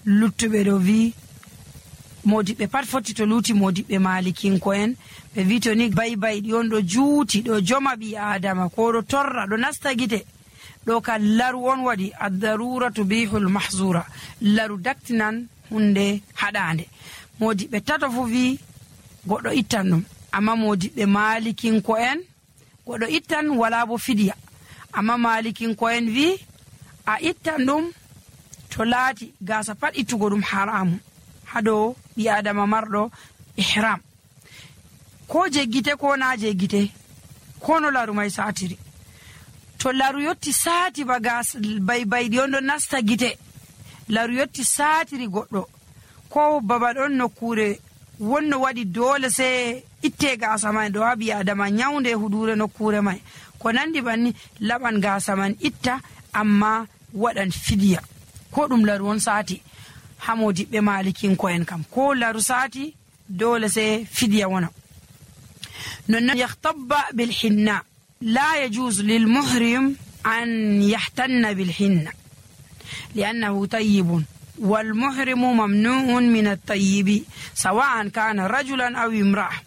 luttuɓe ɗo wi modiɓɓe pat foti to luti modiɓɓe malikinko'en ɓe wi to ni baybayɗi on ɗo juuti ɗo joma ɓi adama ko ɗo torra ɗo nasta gite ɗo ka laru on waɗi addarura tubihul mahzura, laru daktinan hunde haɗande. modiɓɓe tato fu wi goɗɗo ittan ɗum, amma modiɓɓe malikinko'en goɗɗo ittan wala bo fidiya, amma malikinko'en wi a ittan ɗum to laati gasa pat ittugo ɗum haramu haɗo ɓi adama marɗo ihram, ko je gite ko na je gite, ko no laru mai satiri. to laru yotti saati ba gas baybayɗi on ɗo nasta gite, laru yotti satiri goɗɗo ko baba ɗon nokkure wonno waɗi dole sai itte gasa mai ɗo haɓi adama nyaunde hudure nokkure mai ko nandi banni laɓan gasa man itta, amma waɗan fidiya ko ɗum laru on sati. ha modiɓɓe malikinko'en kam ko laru sati dole sai fidiya wona. non yahtabba bilhinna la yajuz lilmuhrim an yahtanna bilhinna li'annahu tayyibun والمحرم ممنوع من الطيب سواء كان رجلا أو امرأة،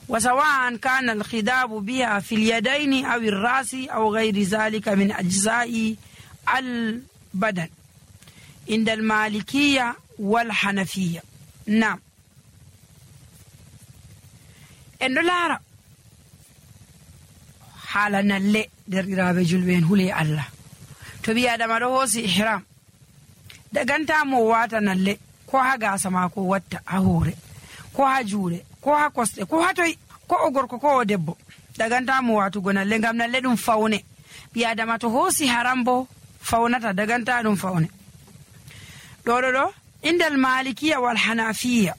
وسواء كان الخداب بها في اليدين أو الرأس أو غير ذلك من أجزاء البدن عند المالكية والحنفية. نعم. إنه لا حالنا اللي درقرابة جلبين هولي الله تبي هذا ما روسي إحرام daganta mo wata nalle ko ha gasa mako watta ha hore ko ha jure ko ha koste ko ha toy ko o gorko ko o debbo daganta mo watugo nalle ngam nalle ɗum fawne. ɓi adama to hosi haram bo fawnata daganta ɗum fawne. ɗo indal malikiya wal hanafiya,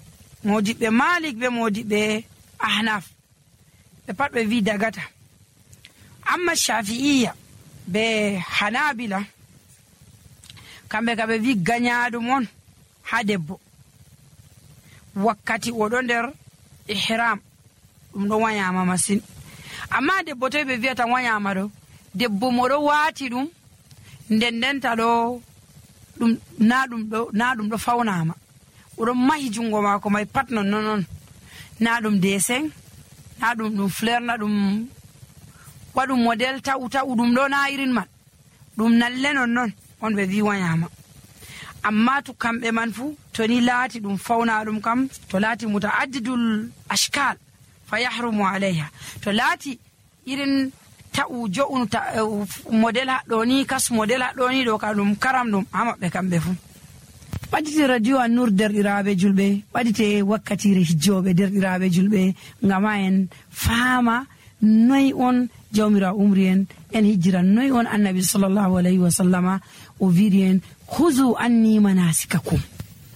modiɓɓe malik be modiɓɓe ahnaf ɓe pat ɓe wi dagata, amma shafi'iya be hanabila kamɓe ka ɓe wi gañaɗum on ha debbo wakkati oɗo nder ihram ɗum ɗo wayama masin. amma debbo toy ɓe wiyata wayama ɗo, debbo moɗo wati ɗum ndendenta ɗo ɗum na ɗum ɗo fawnama, oɗon mahi jungo mako mai pat non na ɗum dessin, na ɗum fleur, na ɗum waɗum model ta'u ɗum ɗo na irin man, ɗum nalle non on ɓe wi wayama. amma to kamɓe man fu to ni laati ɗum fawna ɗum kam, to laati mutaaddidul ashkal fa yahrumu alayha, to laati irin ta'u jo'un model haɗɗo ni kas model haɗɗo ni ɗo ka ɗum karam ɗum ha maɓɓe kamɓe fu. ɓaɗite radio An-Nur derɗiraɓe julɓe, ɓaɗite wakkatire hijjoɓe derɗiraɓe julɓe, ngama en faama noy on jawmira umri en hijjira, noy on annabi sallallahu alayhi wa sallama o wiiri en huzu anni manasikakum.